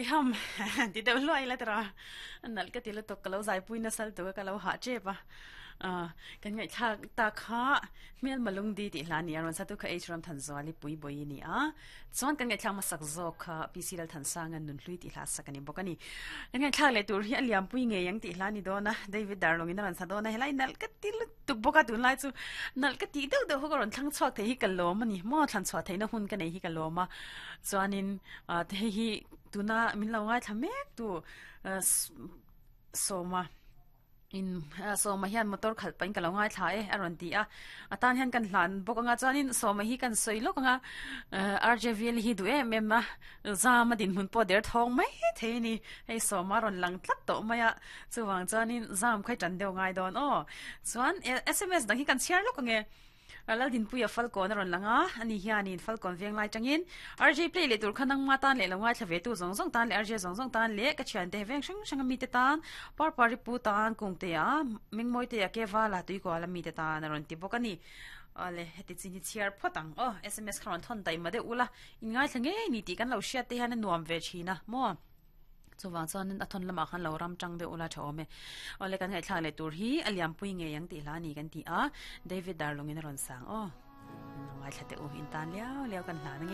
Heiham ti deuh hluai ila tira nalh ka ti lutuk ka lo zaipui nasal tuk a ka lo hah tep a ah kan ngaihthlak tak kha hmel malungdi tih hla a ni a rawn sa tu kha H Ramthanzuali Puibawi a ni a chuan kan ngaihthlak hmasak zawk kha PC Lalthansanga Nunhlui tih hla a sak a ni bawk a ni kan ngaihthlak leh tur hi a liampui ngei ang tih hla a ni dawn a David Darlawngin a rawn sa dawn a helai nalh ka ti lutuk bawk a tunlai chu nalh ka tih deuh deuh ho ka rawn thlang chhuak thei hi ka lawm a ni maw thlan chhuah theihna hun ka nei hi ka lawm a chuanin ah hei hi tuna min lo ngaithla mek tu ah sawma in sawma hian motor khalh pahin ka lo ngaithla e a rawn ti a a tan hian kan hlan bawk anga chuanin sawma hi kan sawi lawk anga ah R_J_V_L hi duh em em a zam a dinhmun pawh der thawng mai thei a ni hei sawma a rawn lang tlat tawh mai a chuvang chuanin zam kha i tan deuh ngai dawn aw chuan S_M_S dang hi kan chhiar lawk ange. Laldinpuia Falkawn a rawn lang a, ani hianin Falkawn veng lai tangin RJ play leh tur kha nangma tan leh lo ngaithla ve tu zawng zawng tan leh RJ zawng zawng tan leh ka thiante veng hrang hrang a mite tan Parpari pu tan Kungtea Mengmawitea Kevala Tuikuala mite tan a rawn ti bawk a ni. Awle heti chin hi chhiar phawt ang aw sms kha rawn thawn daih mah deuh ula in ngaithla ngei ni tih kan lo hriat te hian a nuam ve thin a maw. Chuvang chuanin a thawn lamah khan lo ram tang deuh ula tha awm e. Awle kan ngaihthlak leh tur hi a liampui ngei ang tih hla a ni kan ti a, David Darlungin a rawn sang aw. Ngaithla teh u, in tan liau liau kan hlan ange.